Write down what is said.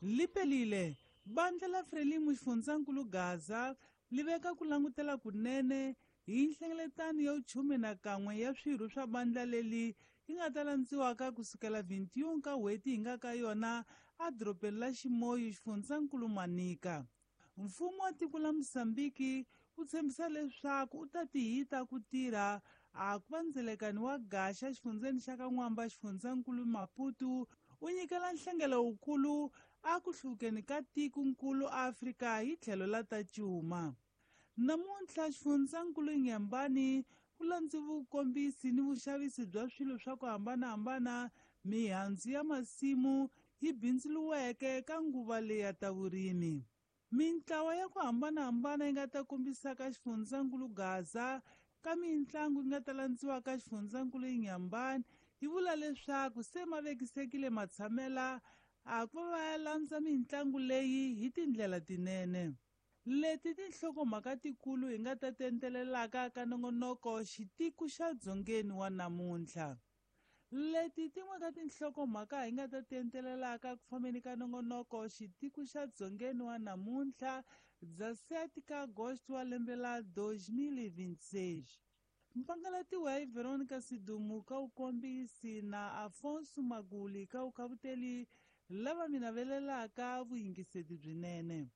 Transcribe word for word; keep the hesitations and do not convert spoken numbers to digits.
Lipelile bandla la Frelimo xifundzankulu Gaza li veka ku langutela kunene hi nhlengeletano ya vuchume na kan'we ya swirho swa bandla leli yi nga ta landziwaka kusukela vintiun ka n'hweti hi nga ka yona edorobeni la Ximoyu xifundzankulu Manica. Mfumo wa tiko la Mozambiki wu tshembisa leswaku u ta tihita ku tirha a ku va ndzelekani wa gaxa xifundzeni xa ka N'wamba xifundzankulu Maputo u nyikela nhlengelo wukulu a ku hluvukeni ka tikonkulu Afrika hi tlhelo la ta cuma. Namuntlha xifundzankulu Inhambane ku landzi vukombisi ni vuxavisi bya swilo swa ku hambanahambana mihandzu ya masimu yi bindzuriweke ka nguva leyi ya ta vurimi. Mintlawa ya ku hambanahambana yi nga ta kombisaka xifundzankulu Gaza ka mitlangu yi nga ta landziwa ka xifundzankulu Inhambane yi vula leswaku se ma vekisekile matshamela a ku va ya landza mitlangu leyi hi tindlela tinene. Leti tinhlokomhaka tikulu hi nga ta tentelelaka ka nongonoko xitiku xa dzongeni wa namuntlha. Leti tin'we ka tinhlokomhaka hi nga ta tentelelaka ku fambeni ka nongonoko xitiku xa dzongeni wa namuntlha dza sete ka agosto wa lembe la dois mil e vinte e seis. Mpangalatiwa hi Veronica Sidumu ka vukombisi na Afonso Maguli ka vukhavuteli lava mi navelelaka vuyingiseti byinene.